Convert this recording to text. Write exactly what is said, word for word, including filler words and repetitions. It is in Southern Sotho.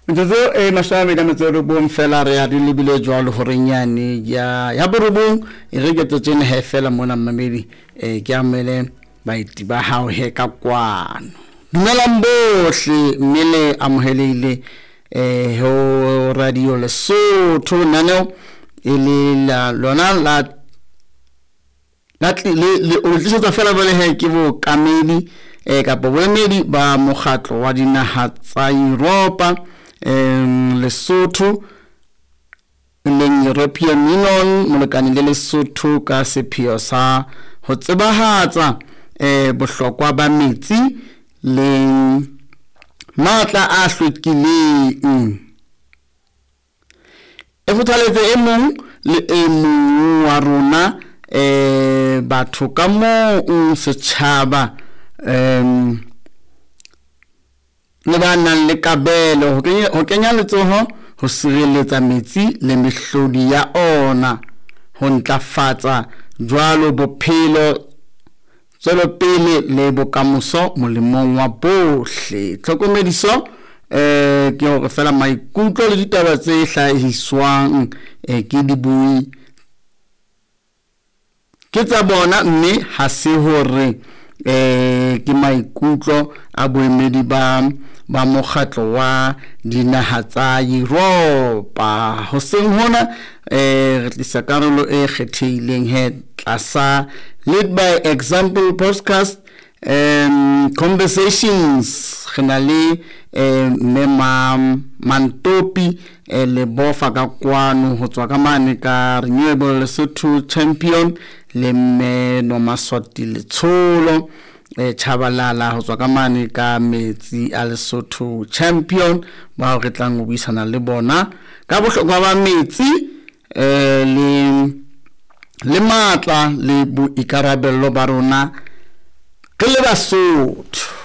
Metsotso e mashome a mabedi a metso e robong fela re ya re lebile jwalo horeng yane ya ya borobong. E re ke tsena he fela mona mmamedi, eh ke amele baeti ba hao he ka kwano. Dumelang bohle mme le amohelehile eh ho Radio Lesotho. Lenaneo e le la lona la la le le o tlisetsa fela jwale he ke bookamedi eh kapa boemedi ba mokgatlo wa dinaha tsa Europa, em Lesotho, leng European Union molekane le Lesotho ka sepheo sa ho tsebahatsa eh bohlokwa ba metsi le matla a hlwekileng. E kgothaletse e mong le e mong wa rona eh batho ka mong, setjhaba, em le ba nang le kabelo ho kenya ho kenya letsoho ho sireletsa metsi le mehlodi ya ona, ho ntlafatsa jwalo bophelo, tswelopele le bokamoso molemong wa bohle. Tlhokomediso eh ke hore fela maikutlo le ditaba tse hlahiswang eh ke dibui ke tsa bona, mme ha se hore eh ke maikutlo a boemedi ba ba mokgatlo wa dinaha tsa Europa. Hoseng hona eh re tlisa karolo e kgethehileng he tlasa Lead by Example podcast um conversations. Re na le eh mme ma Mantopi eh le bofa ka kwano ho tswa ka mane ka Renewable Lesotho Champion, le mme Nomaswati Letsholo eh Chabalala ho tswa ka mane ka Metsi a Lesotho Champion, bao re tlang ho buisana le bona ka bohlokwa ba metsi eh le le matla le boikarabello ba rona re le Basotho.